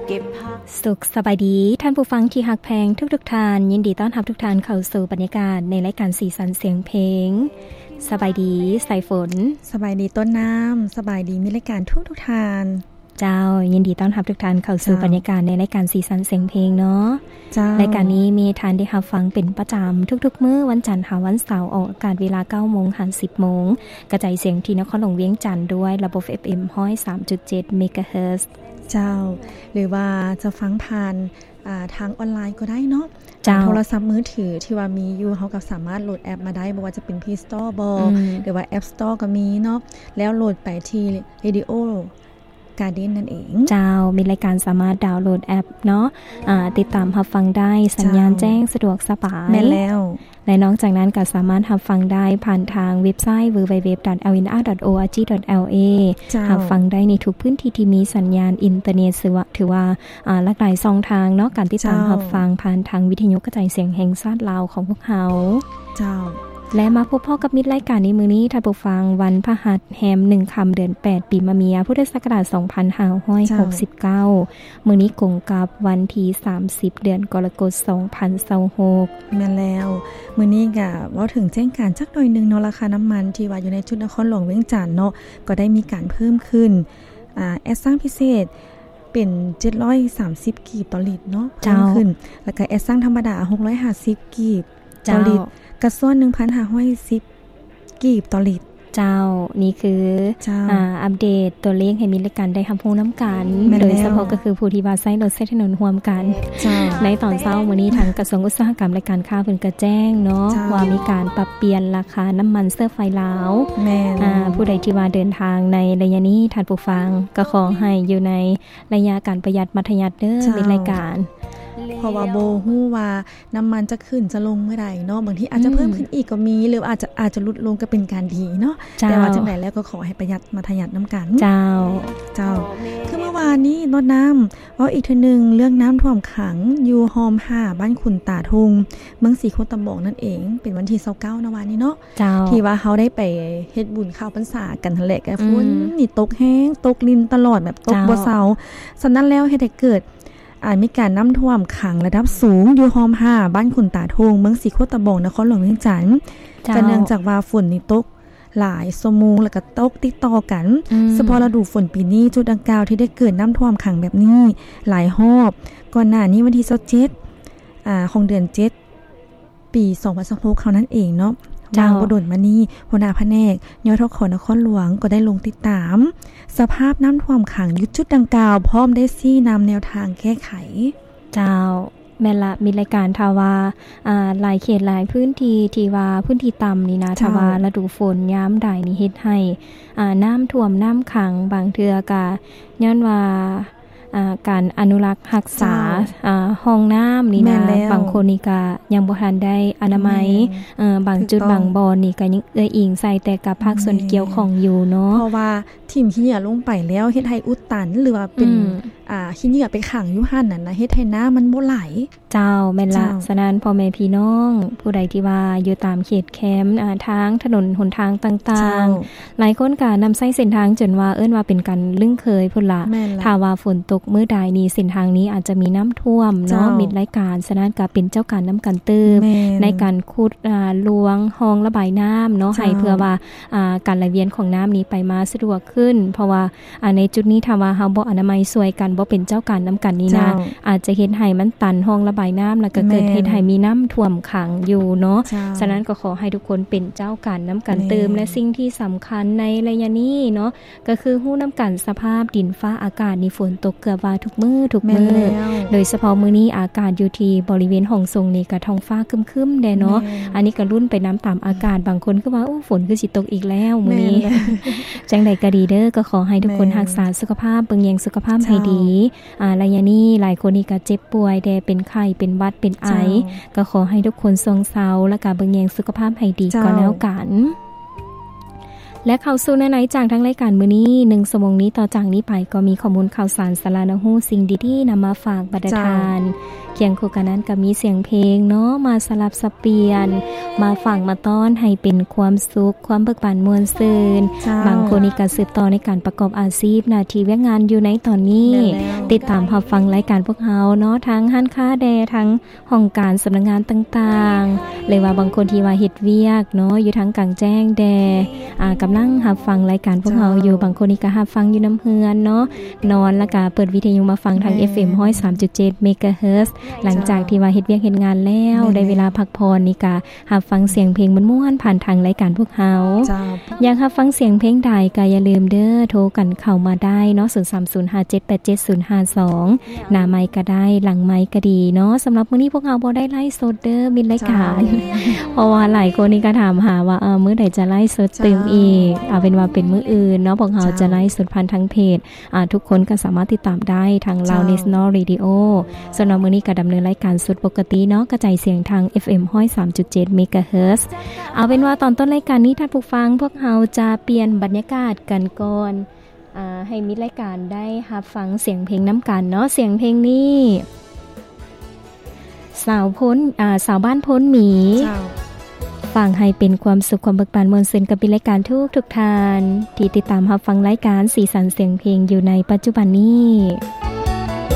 ເກັບພາບ. ສຸກສະບາຍດີທ່ານຜູ້ຟັງທີ່ຮັກແພງທຸກໆທ່ານ, ຍິນດີຕ້ອນຮັບທຸກທ່ານເຂົ້າສູ່ບັນຍາກາດໃນລາຍການສີສັນສຽງເພງ. ສະບາຍດີສາຍຝົນ. ສະບາຍດີຕົ້ນນ້ຳ. ສະບາຍດີມິດລາຍການທຸກໆທ່ານ. ເຈົ້າ, ຍິນດີຕ້ອນຮັບທຸກທ່ານເຂົ້າສູ່ ເຈົ້າ ບັນຍາກາດໃນລາຍການສີສັນສຽງເພງເນາະ. ເຈົ້າ. ລາຍການນີ້ມີທ່ານໄດ້ຮັບຟັງເປັນປະຈຳທຸກໆມື້ ວັນຈັນຫາວັນເສົາ, ອອກອາກາດເວລາເກົ້າໂມງຫາສິບໂມງ, ກະຈາຍສຽງທີ່ນະຄອນຫຼວງວຽງຈັນດ້ວຍລະບົບເອັຟເອັມຮ້ອຍສາມຈຸດເຈັດເມກາເຮີດ. ເຈົ້າ, ຫຼືວ່າຈະຟັງຜ່ານ ອ່າ ທາງອອນລາຍກໍໄດ້ເນາະ. ເຈົ້າ. ໂທລະສັບມືຖືທີ່ວ່າມີຢູ່ ເຮົາກໍສາມາດໂຫຼດແອັບມາໄດ້, ບໍ່ວ່າຈະເປັນ Play Store ບໍ ອືມ ຫຼືວ່າ App Store ກໍມີເນາະ, ແລ້ວໂຫຼດໄປທີ່ Radio Garden ນັ້ນເອງ. ເຈົ້າ, ມິດລາຍການສາມາດດາວໂຫຼດແອັບເນາະ, ອ່າ ຕິດຕາມຮັບຟັງໄດ້, ສັນຍານ ເຈົ້າ ແຈ້ງສະດວກສະບາຍ. ແມ່ນແລ້ວ. ແລະ ນອກຈາກນັ້ນກໍສາມາດຮັບຟັງໄດ້ຜ່ານທາງເວັບໄຊ www.lnr.org.la ເຈົ້າ ຮັບຟັງໄດ້ໃນທຸກພື້ນທີ່ທີ່ມີສັນຍານອິນເຕີເນັດ, ຖືວ່າ ຖືວ່າ ອ່າ ຫຼາກຫຼາຍຊ່ອງທາງເນາະ, ການຕິດຕາມ ເຈົ້າ ຮັບຟັງຜ່ານທາງວິທະຍຸກະຈາຍສຽງແຫ່ງຊາດລາວຂອງພວກເຮົາ. ເຈົ້າ. ແລະ ມາພົບພໍ້ກັບມິດລາຍການໃນມື້ນີ້ ທ່ານຜູ້ຟັງ, ວັນພະຫັດແຮມໜຶ່ງຄ່ຳເດືອນແປດ ປີມະເມຍ ພຸດທະສັກກະລາດສອງພັນຫ້າຮ້ອຍຫົກສິບເກົ້າ. ເຈົ້າ. ມື້ນີ້ກົງກັບວັນທີສາມສິບ ເດືອນກໍລະກົດ ສອງພັນຊາວຫົກ. ແມ່ນແລ້ວ, ມື້ນີ້ກະເວົ້າເຖິງແຈ້ງການຈັກໜ້ອຍໜຶ່ງເນາະ, ລາຄານ້ຳມັນທີ່ວ່າຢູ່ໃນຈຸດນະຄອນຫຼວງວຽງຈັນເນາະ ກໍໄດ້ມີການເພີ່ມຂຶ້ນ, ອ່າ ແອດຊັງພິເສດເປັນເຈັດຮ້ອຍສາມສິບກີບຕໍ່ລິດເນາະ, ເຈົ້າ ເພີ່ມຂຶ້ນ, ແລ້ວກະແອດຊັງທຳມະດາຫົກຮ້ອຍຫ້າສິບກີບຕໍ່ລິດ, ເຈົ້າ ກະສ່ວນໜຶ່ງພັນຫ້າຮ້ອຍສິບ ກີບຕໍ່ລິດ. ເຈົ້າ, ນີ້ຄື ເຈົ້າ ອ່າ ອັບເດດຕົວເລກໃຫ້ມິດລາຍການໄດ້ຮັບຮູ້ນຳກັນ, ແມ່ນແລ້ວ ໂດຍສະເພາະກໍຄືຜູ້ທີ່ວ່າໃຊ້ລົດໃຊ້ຖະໜົນຮ່ວມກັນ. ເຈົ້າ. ໃນຕອນເຊົ້າມື້ນີ້ ທາງກະຊວງອຸດສາຫະກຳ ແລະ ການຄ້າເພິ່ນກະແຈ້ງເນາະ ເຈົ້າ ວ່າມີການປັບປ່ຽນລາຄານ້ຳມັນເຊື້ອໄຟລາວ. ແມ່ນ. ອ່າ ຜູ້ໃດທີ່ວ່າເດີນທາງໃນໄລຍະນີ້ ທ່ານຜູ້ຟັງ ກໍຂໍໃຫ້ຢູ່ໃນໄລຍະການປະຢັດມັດທະຍັດເດີ ເຈົ້າ ມິດລາຍການ, ເພາະວ່າບໍ່ຮູ້ວ່າ ນ້ຳມັນຈະຂຶ້ນຈະລົງເມື່ອໃດເນາະ, ບາງທີອາດຈະ ອືມ ເພີ່ມຂຶ້ນອີກກໍມີ ຫຼືອາດຈະ ອາດຈະຫຼຸດລົງກໍເປັນການດີເນາະ. ເຈົ້າ. ແຕ່ວ່າຈັ່ງໃດແລ້ວກໍຂໍໃຫ້ປະຢັດມັດທະຍັດນຳກັນ. ເຈົ້າ. ເຈົ້າ. ຄືເມື່ອວານນີ້ ໂລດນ້ຳ ເວົ້າອີກເທື່ອໜຶ່ງ ເລື່ອງນ້ຳຖ້ວມຂັງຢູ່ຮ່ອມຫ້າ ບ້ານຂຸນຕາທຸ່ງ ເມືອງສີໂຄດຕະບອງນັ້ນເອງ, ເປັນວັນທີຊາວເກົ້າ ນະວານນີ້ເນາະ. ເຈົ້າ. ທີ່ວ່າເຮົາໄດ້ໄປເຮັດບຸນເຂົ້າພັນສາກັນຫັ້ນແຫຼະ, ກໍຝົນ ອືມ ນີ້ຕົກແຮງ ຕົກລິນຕະຫຼອດ ແບບຕົກ ເຈົ້າ ບໍ່ເຊົາ. ສະນັ້ນແລ້ວເຮັດໃຫ້ເກີດ ອາດມີການນ້ຳຖ້ວມຂັງລະດັບສູງຢູ່ຮ່ອມຫ້າ ບ້ານຂຸນຕາທຸ່ງ ເມືອງສີໂຄດຕະບອງ ນະຄອນຫຼວງວຽງຈັນ. ເຈົ້າ. ກໍເນື່ອງຈາກວ່າຝົນນີ້ຕົກຫຼາຍຊົ່ວໂມງ ແລ້ວກໍຕົກຕິດຕໍ່ກັນ. ອືມ. ສະເພາະລະດູຝົນປີນີ້ ຈຸດດັ່ງກ່າວທີ່ໄດ້ເກີດນ້ຳຖ້ວມຂັງແບບນີ້ຫຼາຍຮອບ. ກ່ອນໜ້ານີ້ວັນທີຊາວເຈັດ ອາ ຂອງເດືອນເຈັດ ປີສອງພັນຊາວຫົກເຮົານັ້ນເອງເນາະ. ເຈົ້າ. ວ່າງບໍ່ດົນມານີ້ ຫົວໜ້າພະແນກ ຍທຂ ນະຄອນຫຼວງ ກໍໄດ້ລົງຕິດຕາມສະພາບນ້ຳຖ້ວມຂັງຢູ່ຈຸດດັ່ງກ່າວ ພ້ອມໄດ້ຊີ້ນຳແນວທາງແກ້ໄຂ. ເຈົ້າ. ແມ່ນລະ ມິດລາຍການ ຖ້າວ່າ ອ່າ ຫຼາຍເຂດຫຼາຍພື້ນທີ່ ທີ່ວ່າພື້ນທີ່ຕ່ຳນີ້ນະ ເຈົ້າ. ຖ້າວ່າລະດູຝົນຍາມໃດນີ້ ເຮັດໃຫ້ ອ່າ ນ້ຳຖ້ວມນ້ຳຂັງ ບາງເທື່ອກະຍ້ອນວ່າ ອ່າ ການອະນຸລັກຮັກສາ ເຈົ້າ. ອ່າ ຮ່ອງນ້ຳນີ້ນະ ແມ່ນແລ້ວ. ບາງຄົນນີ້ກະຍັງບໍ່ທັນໄດ້ອະນາໄມ. ແມ່ນ. ເອີ ບາງຈຸດ ຖືກຕ້ອງ. ບາງບ່ອນນີ້ກະຍັງເອື້ອຍອີງໃສ່ແຕ່ກັບພາກສ່ວນ ແມ່ນ. ທີ່ກ່ຽວຂ້ອງຢູ່ເນາະ. ເພາະວ່າຖິ້ມຂີ້ເຫຍື້ອລົງໄປແລ້ວ ເຮັດໃຫ້ອຸດຕັນ ຫຼືວ່າເປັນ ອືມ ອ່າ ຂີ້ເຫຍື້ອໄປຂັງຢູ່ຫັ້ນນະ ເຮັດໃຫ້ນ້ຳມັນບໍ່ໄຫຼ. ເຈົ້າ, ແມ່ນລະ. ເຈົ້າ. ສະນັ້ນ ພໍ່ແມ່ພີ່ນ້ອງຜູ້ໃດທີ່ວ່າຢູ່ຕາມເຂດແຄມ ອ່າ ທາງຖະໜົນຫົນທາງຕ່າງໆ ເຈົ້າ. ຫຼາຍຄົນກະນຳໃຊ້ເສັ້ນທາງຈົນວ່າເອີ້ນວ່າເປັນການລຶ້ງເຄີຍພຸ້ນລະ. ແມ່ນລະ. ຖ້າວ່າຝົນຕົກມື້ໃດນີ້ ເສັ້ນທາງນີ້ອາດຈະມີນ້ຳຖ້ວມເນາະ. ເຈົ້າ. ມິດລາຍການ ສະນັ້ນກະເປັນເຈົ້າການນຳກັນຕື່ມ ແມ່ນ ໃນການຂຸດ ອ່າ ລວງຮ່ອງລະບາຍນ້ຳເນາະ. ເຈົ້າ. ໃຫ້ເພື່ອວ່າ ອ່າ ການໄຫຼວຽນຂອງນ້ຳນີ້ໄປມາສະດວກຂຶ້ນ ເພາະວ່າ ອ່າ ໃນຈຸດນີ້ ຖ້າວ່າເຮົາບໍ່ອະນາໄມຊ່ວຍກັນ ບໍ່ເປັນເຈົ້າການນຳກັນນີ້ນະ ເຈົ້າ. ອາດຈະເຮັດໃຫ້ມັນຕັນຮ່ອງລະບາຍນ້ຳ ແລ້ວກໍເກີດ ແມ່ນ ເຮັດໃຫ້ມີນ້ຳຖ້ວມຂັງຢູ່ເນາະ. ເຈົ້າ. ສະນັ້ນກໍຂໍໃຫ້ທຸກຄົນເປັນເຈົ້າການນຳກັນຕື່ມ ແມ່ນ ແລະ ສິ່ງທີ່ສຳຄັນໃນໄລຍະນີ້ເນາະ ກໍຄືຮູ້ນຳກັນສະພາບດິນຟ້າອາກາດນີ້ ຝົນຕົກເກືອບວ່າທຸກມື້ ທຸກມື້. ແມ່ນແລ້ວ. ໂດຍສະເພາະມື້ນີ້ອາກາດຢູ່ທີ່ບໍລິເວນຫ້ອງສົງນີ້ກໍທ້ອງຟ້າຄຶ້ມໆແດ່ເນາະ. ແມ່ນ. ອັນນີ້ກໍລຸ້ນໄປນຳຕາມອາກາດ ບາງຄົນຄືວ່າ ໂອ້ ຝົນຄືຊິຕົກອີກແລ້ວມື້ນີ້. ແມ່ນແຫຼະ. ຈັ່ງໃດກໍດີເດີ ກໍຂໍໃຫ້ທຸກຄົນ ແມ່ນ ຮັກສາສຸຂະພາບ ເບິ່ງແຍງສຸຂະພາບໃຫ້ດີ. ເຈົ້າ. ອ່າ ໄລຍະນີ້ຫຼາຍຄົນນີ້ກໍເຈັບປ່ວຍແດ່ ເປັນໄຂ້ ເປັນຫວັດ ເປັນໄອ. ເຈົ້າ. ກໍຂໍໃຫ້ທຸກຄົນຊ່ວງເຊົາ ແລ້ວກໍເບິ່ງແຍງສຸຂະພາບໃຫ້ດີ ເຈົ້າ ກໍແລ້ວກັນ. ແລະ ເຂົ້າສູ່ເນື້ອໃນຈາກທາງລາຍການມື້ນີ້ ໜຶ່ງຊົ່ວໂມງນີ້ ຕໍ່ຈາກນີ້ໄປກໍມີຂໍ້ມູນຂ່າວສານ ສາລະໜ້າຮູ້ ສິ່ງດີໆນຳມາຝາກບັນດາ ເຈົ້າ ທ່ານ. ຄຽງຄູ່ກັນນັ້ນກໍມີສຽງເພງເນາະ ມາສະຫຼັບສັບປ່ຽນ ມາຝາກມາຕ້ອນໃຫ້ເປັນຄວາມສຸກ ຄວາມເບີກບານມ່ວນຊື່ນ. ເຈົ້າ ບາງຄົນນີ້ກໍສືບຕໍ່ໃນການປະກອບອາຊີບ ໜ້າທີ່ວຽກງານຢູ່ໃນຕອນນີ້ ແມ່ນແລ້ວ ຕິດຕາມຮັບຟັງລາຍການພວກເຮົາເນາະ ທາງຮ້ານຄ້າແດ່ ທາງຫ້ອງການສຳນັກງານຕ່າງໆ ຫຼືວ່າບາງຄົນທີ່ວ່າເຮັດວຽກເນາະ ຢູ່ທາງກາງແຈ້ງແດ່ ອ່າ ກຳລັງຮັບຟັງລາຍການພວກເຮົາຢູ່ ເຈົ້າ ບາງຄົນນີ້ກໍຮັບຟັງຢູ່ນຳເຮືອນເນາະ ນອນແລ້ວກໍເປີດວິທະຍຸມາຟັງທາງ ແມ່ນ ເອັຟເອັມ ຮ້ອຍສາມຈຸດເຈັດ ເມກາເຮີດ ຫຼັງຈາກ ເຈົ້າ ທີ່ວ່າເຮັດວຽກເຮັດງານແລ້ວ ແມ່ນແລ້ວ ໄດ້ເວລາພັກຜ່ອນນີ້ກໍ ຮັບຟັງສຽງເພງມ່ວນໆ ຜ່ານທາງລາຍການພວກເຮົາ. ເຈົ້າ ຢາກຮັບຟັງສຽງເພງໃດກໍຢ່າລືມເດີ ໂທກັນເຂົ້າມາໄດ້ເນາະ ສູນສາມສູນຫ້າເຈັດແປດເຈັດສູນຫ້າສອງ ໜ້າໄມກະໄດ້ ຫຼັງໄມກະດີເນາະ. ສຳລັບມື້ນີ້ພວກເຮົາບໍ່ໄດ້ໄລຟ໌ສົດເດີ ມິດລາຍການ ເຈົ້າ ເພາະວ່າຫຼາຍຄົນນີ້ກໍຖາມຫາວ່າ ເອີ ມື້ໃດຈະໄລຟ໌ສົດຕື່ມອີກ ເຈົ້າ ເອົາເປັນວ່າເປັນມື້ອື່ນເນາະ ພວກເຮົາ ເຈົ້າ ຈະໄລຟ໌ສົດຜ່ານທາງເພຈ ອ່າ ທຸກຄົນກໍສາມາດຕິດຕາມໄດ້ທາງ ເຈົ້າ Lao National Radio. ສ່ວນວ່າມື້ນີ້ກໍດຳເນີນລາຍການສຸດປົກກະຕິເນາະ ກະຈາຍສຽງທາງ ເອັຟເອັມ ຮ້ອຍສາມຈຸດເຈັດ ເມກາເຮີດ. ເອົາເປັນວ່າຕອນຕົ້ນລາຍການນີ້ ທ່ານຜູ້ຟັງ ພວກເຮົາຈະປ່ຽນບັນຍາກາດກັນກ່ອນ ອ່າ ໃຫ້ມິດລາຍການໄດ້ຮັບຟັງສຽງເພງນຳກັນເນາະ. ສຽງເພງນີ້ ສາວໂພນ ອ່າ ສາວບ້ານໂພນໝີ ເຈົ້າ ຝາກໃຫ້ເປັນຄວາມສຸກ ຄວາມເບີກບານມ່ວນຊື່ນກັບມິດລາຍການທຸກໆທ່ານ ທີ່ຕິດຕາມຮັບຟັງລາຍການສີສັນສຽງເພງຢູ່ໃນປັດຈຸບັນນີ້.